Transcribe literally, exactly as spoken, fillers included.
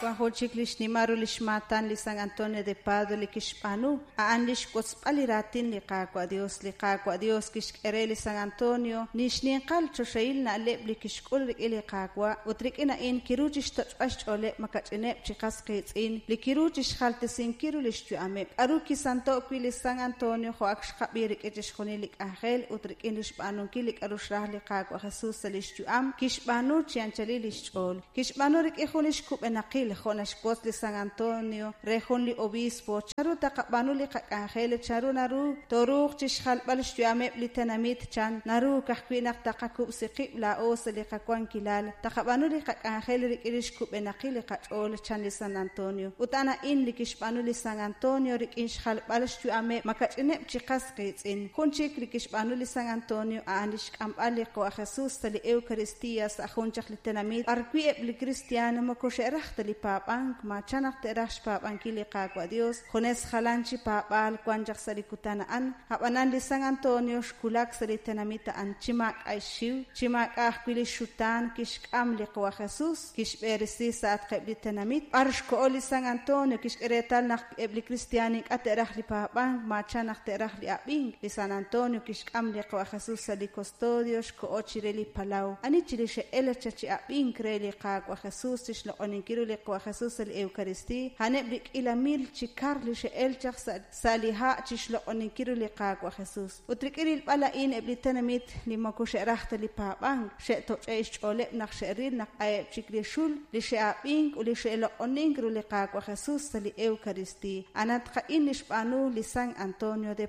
Wan jun chik li xnimal ru lix maatan li San Antonio de Padua li kixb'aanu, a'an li xwotzb'al li raatin li Qaawa' Dios. Li Qaawa' Dios kixk'e re li San Antonio li xninqal choxahil na'leb' li kixk'ul rik'in li Qaawa', ut rik'in a'in kiru chixtoch'b'al xch'ooleb' makach'ineb' chi qas qiitz'in li kiru chixjaltesinkil ru lix yu'ameb'. K'a'ru kisanto' wi' li San Antonio jo' ak xqab'i rik'in chixjunil li k'anjel ut rik'in li xb'aanunkil li k'a'ru xraj li Qaawa' Jesus sa' lix yu'am, kixb'aanu chi anchalil lix ch'ool. Kixb'aanu rik'in jun lix kub'enaqil jo' naxwotz li San Antonio re jun li obispo, chanru taqab'aanu li qak'anjel, chanru naru tooruuq chixjalb'al xyu'ameb' li tenamit, chan naru ka'ajwi' naq taqakub'si qib' laa'o sa' li qawankilal, taqab'aanu li qak'anjel rik'in lix kub'enaqil li qach'ool, chan li San Antonio. Ut a'an a'in li kixb'aanu li San Antonio rik'in xjalb'al xyu'ameb' makach'ineb' chi qas qiitz'in. Jun chik li kixb'aanu li San Antonio a'an li xk'amb'al li Qawa' Jesus sa' li Eucaristía sa' jun chaq li tenamit b'ar wi' eb' li cristiano moko xe'raj ta li paab'ank, ma chan naq te'raj xpaab'ankil li Qaawa' Dios, junes jalan chi paab'aal wan chaq sa' li kutan a'an. Ab'anan li San Antonio xkulak sa' li tenamit a'an chi maak'a' xxiw, chi maak'a' ajwi' li xutaan kixk'am li Qawa' Jesus, kixb'eresi sa'atqeb' li tenamit. B'ar xko'o li San Antonio kixk'e reetal naq eb' li cristiano ink'a' te'raj li paab'ank, ma chan naq te'raj li ab'ink. Li San Antonio kixk'am li Qawa' Jesus sa' li custodio xko'o chire li palaw. Ani chili xe'el cha chi ab'ink re li Qaawa' Jesus chixloq'oninkil ru li Qawa' Jesus sa' li Eucaristía, a'aneb' li k'iila mil chi kar li xe'el chaq sa' sa' li ha' chixloq'oninkil ru li Qaawa' Jesus. Ut rik'in rilb'al a'in eb' li tenamit li moko xe'raj ta li paab'ank, xe'toch'e' xch'ooleb' naq xe'ril naq a'eb' chik li xul li xe'ab'ink ut li xe'loq'onink ru li Qaawa' Jesus sa' li Eucaristía. Anatqa'in li xb'aanu li San Antonio de